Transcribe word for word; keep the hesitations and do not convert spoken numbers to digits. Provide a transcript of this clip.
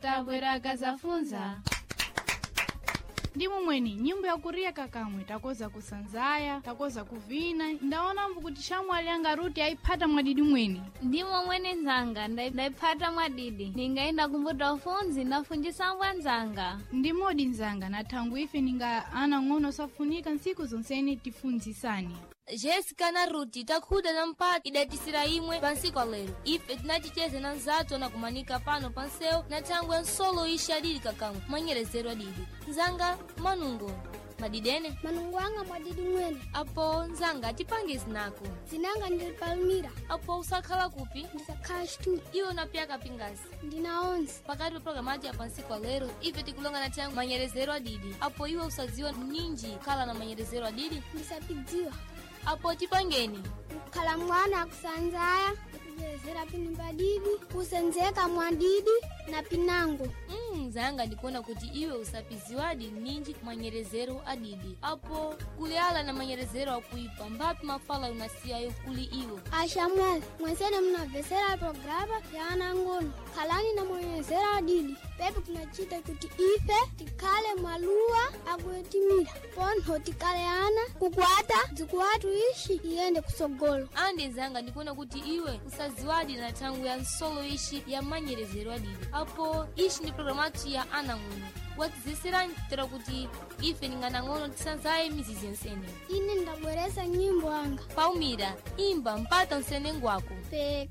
Tabwera kazafunza ndi mumweni nyimbo yakuriya kakamwe takoza kusanzaya, takoza kuvina. Ndaonambo kuti shamwali anga Ruti ayiphata mwadidi mweni. Ndimo mwene nzanga, ndai- ndaiphata mwadidi. Ningaenda kumbuta ufunzi ndafunjisa mbwa nzanga. Ndi modi nzanga, na thangwi ife ninga ana ng'ono safunika ntsiku zonsene tifunzisane. Jessica na Ruti takhuda na mpata idatisira imwe pansiku alero. Ife tinacicheza na nzathu anakumanika pano pansewu na thangwi ya nsolo ixi adidi kakamwe manyerezero adidi. Nzanga manungo madidene. Manungo anga mwadidi mwene. Apo nzanga tipange zinako. Zinanga ndili Palmira. Apo usakhala kupi? Ndisakhala Chitutu. Iwe unapyaka pingasi? Ndina onze. Pakati pa programu ati ya pansiku alero ife tikulonga na thangwi manyerezero adidi. Apo iwe usadziwa ninji khala na manyerezero adidi? Ndisapidziwa. Apo tipangeni. Kukhala mwana akusanzaya, akujerezera pinu padidi, kusenzeka mwadidi na pinango. Mm, zanga ndikuona kuti iwe usapiziwadi ninji manyerezero adidi. Apo kuliala na manyerezero akuipa mbapi mafala unasiyayo kuli iwe? Ashamwali, mwensene munamvesera programa ya anangono. Khalani na mwenyezera adidi. Pepe kunachita kuti ife tikhale mwaluwa akuyetimira. Pontho tikhale ana kukwata dzikuwatu ishi iyende kusogolo. Andi nzanga ndikuona kuti iwe usaziwadi na thangwi ya nsolo ishi ya manyerezero adidi. Apo ishi ndi programu athu ya anang'ono watizeserani tera kuti ife ninganang'ono tisanzaye mizizi yensene. Ine ndabweresa nyimbo anga. Palmira, imba mpata nsene ngwako. Peka.